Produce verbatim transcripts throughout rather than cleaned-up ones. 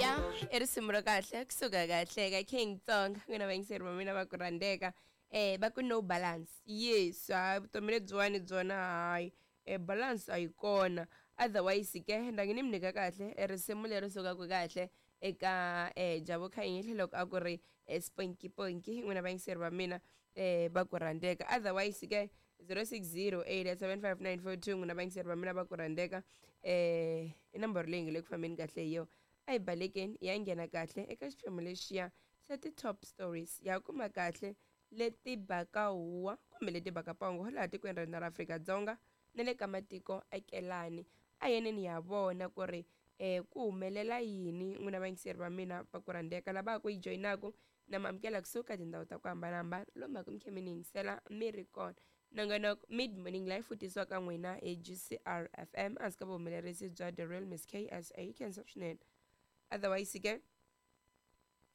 Ya, i risimu ra kahle kusuka kahle ka King Tsonga. N'wina vayingiseri va mina va ku rhandzeka, eh va ku no balance. Yes, hayi, vutomi lebyiwani byona, hayi, e balance a yi kona. Otherwise ke ndangi ni mi nyika kahle e risimu leri sukaka kahle eka eh Jabo Khanyile loko a ku ri Sponky Ponky. N'wina vayingiseri va mina eh va ku rhandzeka. Otherwise ke zero six zero eight seven five nine four two, n'wina vayingiseri va mina va ku rhandzeka, eh i nomboro leyi nge le ku fambeni kahle hi yo. A hi balekeni, ya nghena kahle eka xiphemu lexiya xa ti-top stories, ya kuma kahle leti baka huwa kumbe leti baka pongo laha tikweni ra hina ra Afrika-Dzonga na le ka matiko akelani. A yeneni ya vona ku ri eh ku humelela yini. N'wina vayingiseri va mina va ku rhandzeka, lava ku yi joyinaku na mi amukela kusuka tindhawu ta ku hambanahambana lomu ku mi khe mi ni yingisela mi ri kona. Nongonoko Mid Morning Life wu tisiwa ka n'wina hi G C R F M ehansi ka vuhumelerisi bya The Real Miss K S A. Khensa swinene. Otherwise ke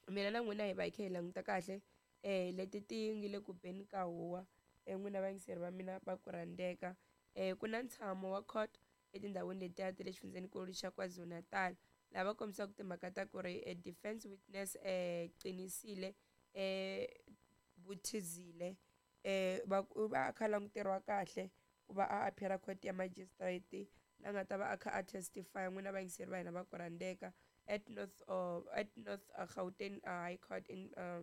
mina na n'wina hi va hi kha hi languta kahle eh leti ti nge le ku beni ka huwa. eh n'wina vayingiseri va mina va ku rhandzeka, eh ku na ntshamo wa court etindhawini letiya ta le xifundzenikulu xa KwaZulu-Natal, laha va kombisaka timhaka ta ku ri eh, defense witness eh Qinisile eh Buthizile eh va va kha languteriwa kahle ku va a appear court ya magistrate, la nga ta va a kha a testify. N'wina vayingiseri va hina va ku rhandzeka, at North uh, at North uh, Gauteng uh, High Court in uh,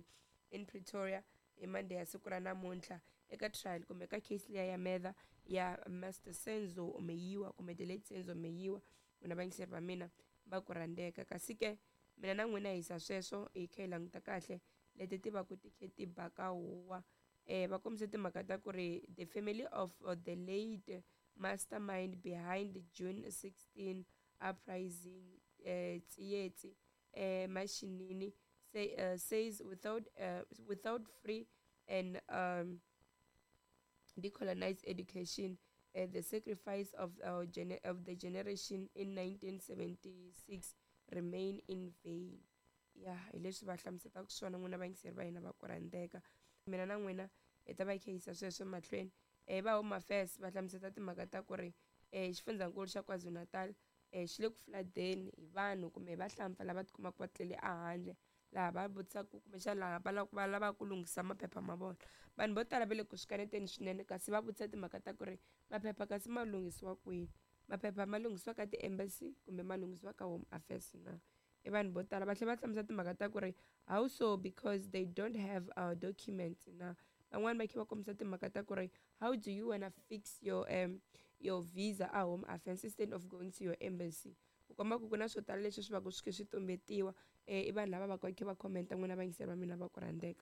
in Pretoria hi Monday ya siku ra namuntlha, eka trial kumbe ka case liya ya murder ya Master Senzo Meyiwa kumbe the late Senzo Meyiwa. N'wina vayingiseri va mina va ku rhandzeka, kasi ke mina na n'wina hi yisa sweswo hi kha hi languta kahle leti ti va ku ti khe ti baka huwa. eh va kombise timhaka ta ku ri the family of uh, the late mastermind behind the June sixteen uprising, eh Tsietsi eh Mashinini, say, uh, says without uh, without free and um, decolonized education, uh, the sacrifice of our gene- of the generation in nineteen seventy-six remain in vain. Ya, hi leswi va hlamusetaka swona. N'wina vayingiseri va hina va ku rhandzeka, mina na n'wina hi ta va hi kha yisa sweswo mahlweni. um va Home Affairs va hlamuseta timhaka ta ku ri um xifundzankulu xa KwaZulu-Natal um xi le ku floodeni hi vanhu kumbe hi vahlampfa lava tikumaka va tlele ehandle, laha va vutisaka kumbexana laha va lava va lavaka ku lunghisa maphepha ma vona. Vanhu vo tala va le ku swi kaneteni swinene, kasi va vutisa timhaka ta ku ri maphepha kasi ma lunghisiwa kwini? Maphepha ma lunghisiwa ka ti-embassy kumbe ma lunghisiwa ka Home Affairs na? I vanhu vo tala va tlhela va hlamusela timhaka ta ku ri how so, because they don't have our documents na. Van'wani va kha va kombisa timhaka ta ku ri how do you wanna fix your um your visa a Home Affairs instead of going to your embassy? Ku komba ku ku na swo tala leswi swi va ku swi khe swi tumbetiwa. um i vanhu lava va ka kha va commenta. N'wina vayingiseri va mina va ku rhandzeka,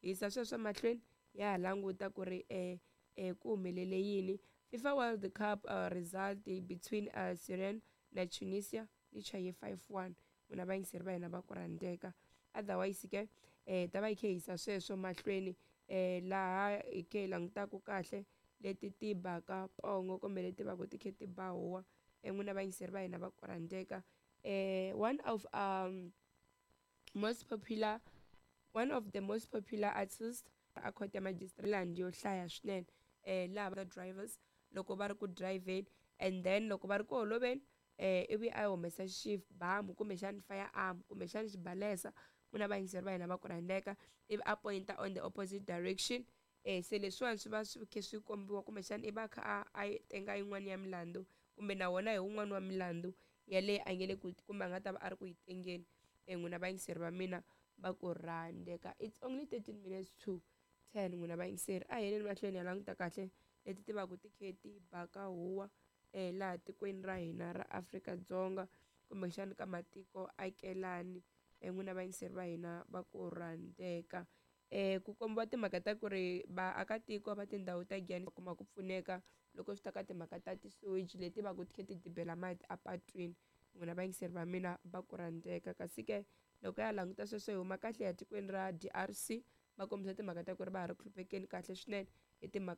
hisa sweswo mahlweni, ya ha languta ku ri um um ku humelele yini. FIFA World Cup uh, result between uh, Syrian na Tunisia yi chaye five one. N'wina vayingiseri va hina va ku rhandzeka, otherwise ke eh ta va hi kha hi yisa sweswo mahlweni, eh laha hi kha hi langutaka kahle leti ti baka pongo kumbe leti va ku ti kha ti ba huwa. eh n'wina vayingiseri va hina va ku rhandzeka, eh one of um most popular one of the most popular artists a court ya magistrate yo hlaya swinene, eh laha the drivers loko va ri ku driveni and then loko va ri ku holoveni, eh ivi a humesa xibamu kumbexani firearm kumbexani xibalesa. N'wina vayingiseri va hina va ku rhandzeka, ivi a pointa on the opposite direction. eh se leswiwani swi va swi khe swi kombiwa kumbexana i va a kha a a tenga yin'wani ya milandzu, kumbe na wona hi wun'wani wa milandzu yaleyi a nge le ku kumbe a nga ta va a ri ku yi tengeni. eh n'wina vayingiseri va mina va ku rhandzeka, it's only thirteen minutes to ten. N'wina vayingiseri, a hi yeleni mahlweni ya languta kahle leti ti va ku ti khe ti baka huwa eh laha tikweni ra hina ra Afrika-Dzonga kumbexani ka matiko akelani. eh n'wina vayingiseri va hina va ku rhandzeka, eh ku kombiwa timhaka ta ku ri vaakatiko va tindhawu ta Giyani va kuma ku pfuneka loko swi ta ka timhaka ta ti-sewage leti va ku ti kha ti dibela mati apatwini. N'wina vayingiseri va mina va ku rhandzeka, kasi ke loko ya languta sweswo, hi huma kahle ya tikweni ra D R C, va kombisa timhaka ta ku ri va ha ri ku hluphekeni kahle swinene hi timhaka.